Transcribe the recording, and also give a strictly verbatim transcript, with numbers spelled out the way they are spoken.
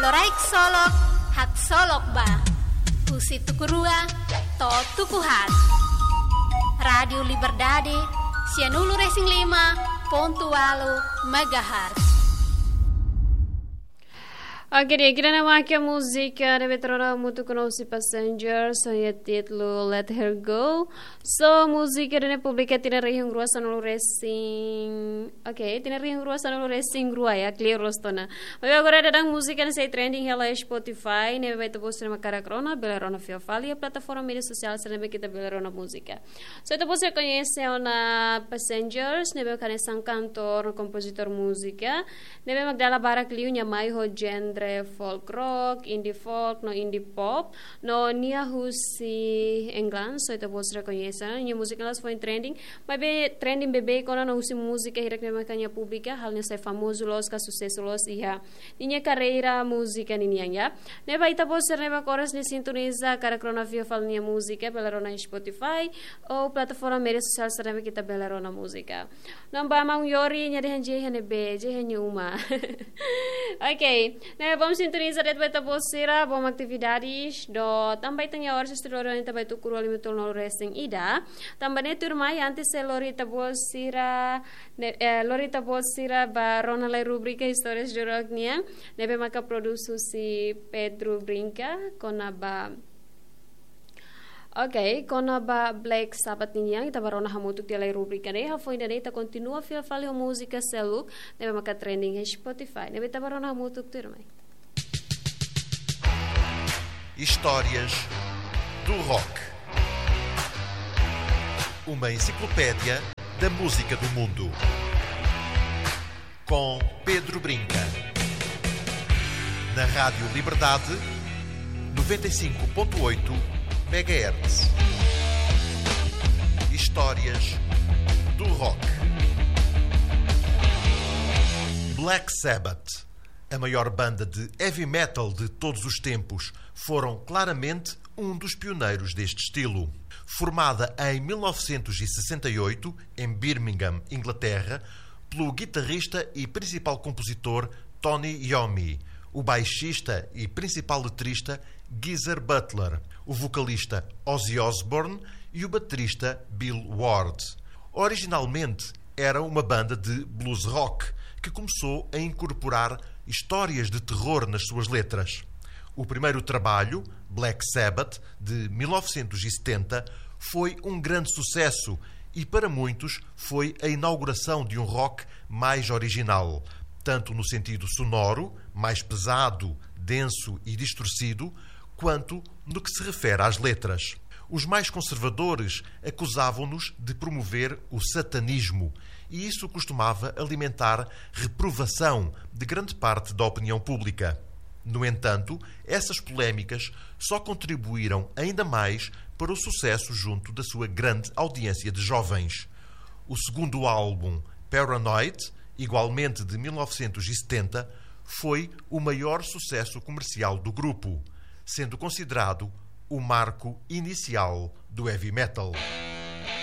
Loraik Solok, Haksolok Ba. Husi tuku rua to'o tuku haat. Rádiu Liberdade, sianulu-resin-lima pontu ualu megahertz. Oke, di'ak, ida-ne'e mak múzika ne'ebé ita rona hamutuk ho Passengers, ho nia títulu Let Her Go. So, múzika ne'e publika tinan rihun rua sanulu-resin, oke, tinan rihun rua sanulu-resin-rua, ya, clear loos ona. Maibé agora daudaun múzika ne'e sei trending hela iha Spotify, ne'ebé ita-boot sira mak hakarak rona, bele rona fila fali iha plataforma média sosiál sira ne'ebé ita bele rona múzika. So, ita-boot sira koñese ona Passengers, ne'ebé hanesan kantór no kompozitór múzika, ne'ebé mak dala barak liu nia mai ho genre folk rock, indie folk, no indie pop, no nia husi England, so ita-boot sira koñese ona, nia múzika ne'e foin trending, maibé trending beibeik ona no husi múzika hirak ne'ebé mak nia publika, halo nia sai famozu loos ka susesu loos iha ninia karreira múzika ninian, ya. Ne'ebé ita-boot sira ne'ebé oras ne'e sintoniza, hakarak rona fila fali nia múzika, bele rona iha Spotify, ou plataforma média sosiál sira ne'ebé ita bele rona múzika. Namba maun Yori, nia dehan jei iha ne'ebé, jei iha nia uma. Oke, ne'ebé vamos sintoniza de'it ba ita-boot sira, bom atividades, no tanba ita-nia oras estudioru ita ba tuku rua limitol no resin ida. Tanba ne'e tuirmai, antes sei lori ita-boot sira, ne-, eh, lori ita-boot sira ba rona lai rubrika Histórias do Rock nian, ne'ebé maka produs husi Pedro Brinca, kona-ba, oke, kona-ba Black Sabbath nian, ita ba rona hamutuk tiha lai rubrika ne'e, hafoin ida-ne'e ita kontinua fila fali ho múzika seluk, ne'ebé maka trending iha Spotify, ne'ebé ita ba rona hamutuk tuirmai. Histórias do Rock. Uma enciclopédia da música do mundo. Com Pedro Brinca. Na Rádio Liberdade, noventa e cinco ponto oito megahertz. Histórias do Rock. Black Sabbath, a maior banda de heavy metal de todos os tempos, foram claramente um dos pioneiros deste estilo. Formada em mil novecentos e sessenta e oito, em Birmingham, Inglaterra, pelo guitarrista e principal compositor Tony Iommi, o baixista e principal letrista Geezer Butler, o vocalista Ozzy Osbourne e o baterista Bill Ward. Originalmente, era uma banda de blues rock que começou a incorporar histórias de terror nas suas letras. O primeiro trabalho, Black Sabbath, de mil novecentos e setenta, foi um grande sucesso e, para muitos, foi a inauguração de um rock mais original, tanto no sentido sonoro, mais pesado, denso e distorcido, quanto no que se refere às letras. Os mais conservadores acusavam-nos de promover o satanismo, e isso costumava alimentar reprovação de grande parte da opinião pública. No entanto, essas polémicas só contribuíram ainda mais para o sucesso junto da sua grande audiência de jovens. O segundo álbum, Paranoid, igualmente de mil novecentos e setenta, foi o maior sucesso comercial do grupo, sendo considerado o marco inicial do heavy metal.